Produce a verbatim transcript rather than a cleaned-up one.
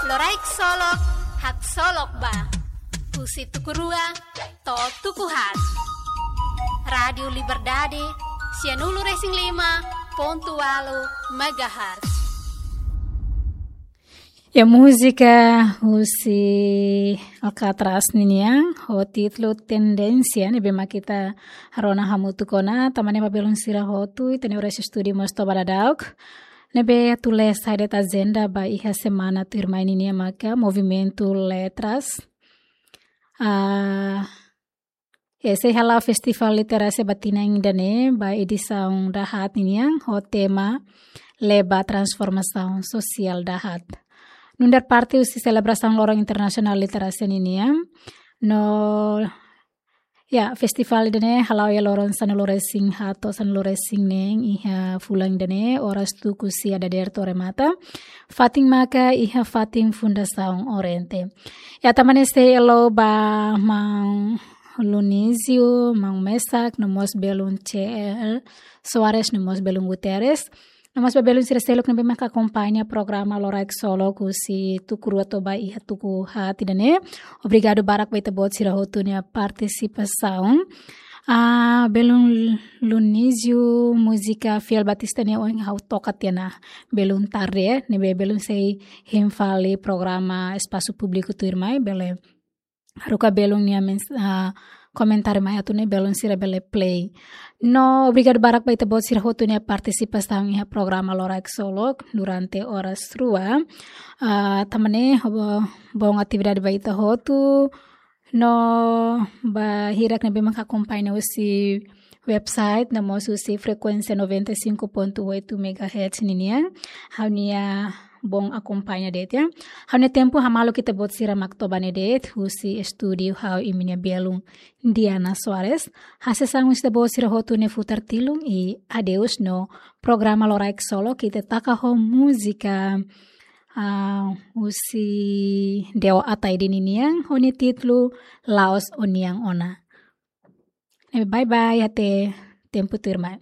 Loraik Solok, haksolok ba. Husi tuku rua to'o tuku haat. Rádiu Liberdade, sianulu-resin-lima pontu ualu megahertz. Ya, múzika husi Alcatraz ninian, ho títulu Tendénsia, ne'ebé mak ita rona hamutuk ona, tanba ne'e ba belun sira hotu, ita-nia oras estúdiu mós toba daudauk. Ne'ebé atu lee saida de'it ajenda ba iha semana tuirmai ninian maka Movimentu Letras. Ah, ya, sei hala'o Festivál Literasia ba tinan ida-ne'e, ba edisaun dahaat ninian, ho tema Leba Transformasaun Sosiál Dahaat. Nu'udar parte husi selebrasaun Loron Internasionál Literasia ninian, no ya, festivál ida-ne'e hala'o iha loron sanulu-resin-haat to'o sanulu-resin-neen iha fulan ida-ne'e, oras tuku sia dadeer to'o remata. Fatin maka iha fatin Fundasaun Oriente. Ya, tanba ne'e sei halo ba maun Lunísio, maun Mesak, no mós belun C L Soares, no mós belun Guterres. No mós ba belun sira seluk ne'ebé mak akompaña programa Loraik Solok husi tuku rua to'o ba iha tuku haat ida-ne'e. Obrigadu barak ba ita-boot sira hotu nia partisipasaun. Ah, belun Lunísio, múzika Fiel Batista ne'e ohin ha'u toka tiha ona belun tarde, ne'ebé belun sei hein fali programa espasu públiku tuirmai, bele haruka belun nia mens-, ah, komentáriu mai atu nune'e belun sira bele play. No, obrigadu barak ba ita-boot sira hotu nia partisipasaun iha programa Loraik Solok durante oras rua. Ah, tanba ne'e, ho-, bom atividade ba ita hotu. No, ba hirak ne'ebé mak akompaña husi website, no mós husi frekuénsia noventa e cinco ponto oito megahertz ninian, ha'u-nia bom akompaña de'it, ya. Ha'u-nia tempu hamaluk ita-boot sira mak toba ne'e de'it, husi estúdiu ha'u imi-nia belun Diana Soares. Hasees an husi ita-boot sira hotu ne'e futar tilun i adeus no programa Loraik Solok ita taka ho múzika, ah, husi Deo Ataide ninian, ho nia títulu La'ós Ó-Nian Ona. Eh, bye bye, até tempu tuirmai.